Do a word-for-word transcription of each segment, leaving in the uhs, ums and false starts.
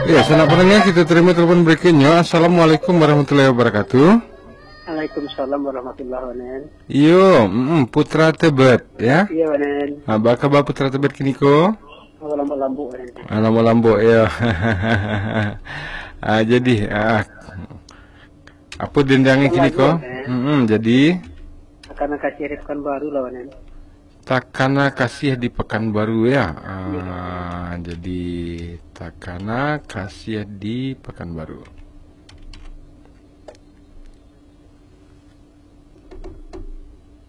Ya, sanak pandanga, kita tarimo telepon berikutnyo. Assalamualaikum warahmatullahi wabarakatuh. Waalaikumsalam warahmatullahi wabarakatuh. Yo, mm, Putra Tebet, ya? Iya, Wanen. Ah, baa kaba Putra Tebet kiniko? Oh, lambok-lambok, Wanen. Ah, lambok-lambok, ya. Ah, jadi, ah, apo dendangnya kiniko? Lambok, Wanen. Mm-mm, jadi? Takana Kasih di Pekanbaru lah, Wanen. Takana Kasih di Pekanbaru, ya? Ah, jadi Takana Kasih di Pekanbaru.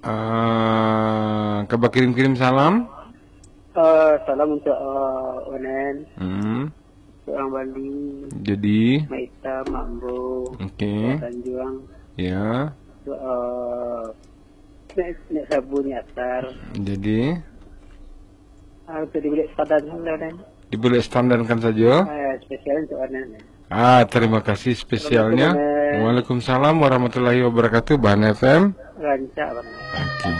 Ah, ka bakirim-kirim salam? Eh, salam untuk, eh, Onen, Hmm. Orang Bali, Jadi, Mak Ita, Mak Ambo, Oke. Tanjuang, Ya. Untuk, eh, Nek, Nek Sabu, Nek Atar. Jadi, Ah, untuk di bilik standar kan, Onen? Di bilik standar kan saja. Eh, spesial untuk Onen. Ah, terima kasih spesialnya. Assalamualaikum, Onen. Waalaikumsalam warahmatullahi wabarakatuh, Bahan F M. Rancak, Onen. Oke.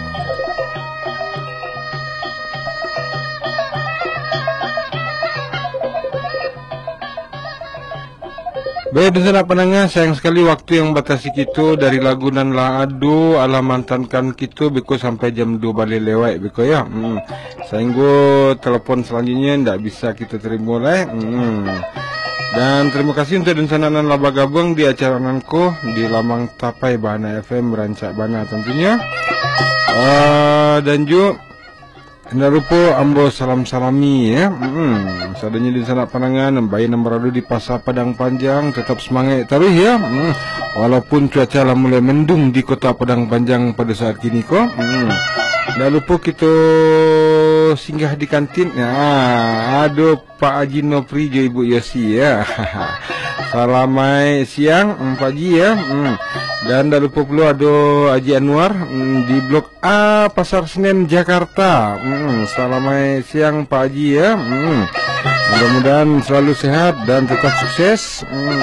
Baik, dunsanak pandanga, sayang sakali waktu yang batasi kito dari lagu nan lah ado, alah mantankan kito beko sampai jam duo baleh lewat beko, ya. Hmm. Sainggo telepon selanjutnya ndak bisa kito terimo lai. Hmm. Dan terima kasih untuk dunsanak nan lah bagabuang di acara nan ko di Lamang Tapai Bahana F M, rancak bana tentunya. Ah, dan ju Indak lupo ambo salam-salami, ya. Mm-mm. Sadonyo dunsanak pandanga nan bae nan barado di Pasa Padang Panjang, tetap semangat taruih, ya. Mm. Walaupun cuaca lah mulai mendung di Kota Padang Panjang pada saat kini ko. Mm. Indak lupo kito singgah di kantin. Nah, ado Pak Haji Nopri jo Ibu Yosi, ya. Salamaik siang, mm, Pak Haji, ya. Mm. Dan indak lupo pulo ado Haji Anwar, mm, di Blok A, Pasar Senen, Jakarta. Mm, salamaik siang, Pak Haji, ya. Mm. Mudah-mudahan selalu sehat dan tetap sukses. Mm.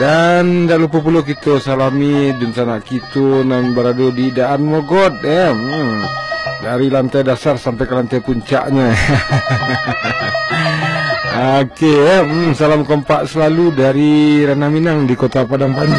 Dan indak lupo pulo kito salami dunsanak kito nan barado di Daan Mogot, ya. Mm. Dari lantai dasar sampai ke lantai puncaknya. Oke, ya. Mm, salam kompak selalu dari Ranah Minang di Kota Padang Panjang.